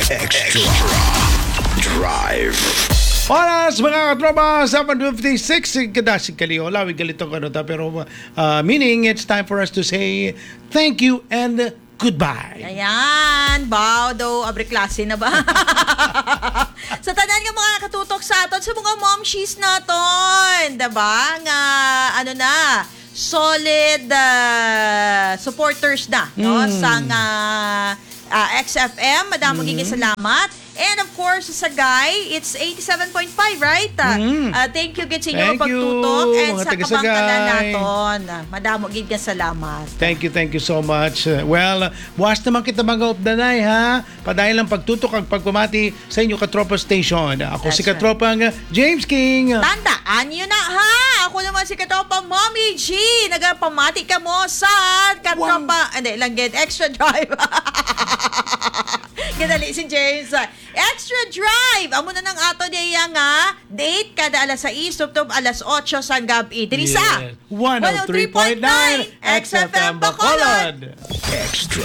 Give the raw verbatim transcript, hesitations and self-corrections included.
Extra Drive. Oras, mga katropa, seven fifty-six. Kadasig kaliho, lawig galito ko, ano ta, pero, uh, meaning it's time for us to say thank you and goodbye. Ayan, baw daw, abre klase na ba? Sa tanan nga mga nakatutok sa aton, sa mga momshies naton, diba? Nga, ano na, solid ah, supporters na, no? Mm. Sang ah, ah, X F M, madamo gid nga salamat. And of course, sa Sagay, it's eighty-seven point five, right? Ah, Mm. ah, thank you gid sa inyo nga Thank you, pagtutok and mga sa taga kabangkanan Sagay. naton. Ah, madamo gid nga salamat. Thank you, thank you so much. Uh, Well, buwas naman kita, mga updanay, ha? Padayon lang pagtutok ang pagpamati sa inyo katropa station. Ako si That's right. katropang James King. Tandaan nyo na, ha? Ako naman si Katropa Mommy G. Nagapamati ka mo sa Katropa, hindi lang gid, Extra Drive. Gadali si James. Extra Drive. Amo na nang ato niya nga date kada alas sais tubtob alas otso sang gabi. Diri sa Yes. One oh three point nine X F M Bacolod. Extra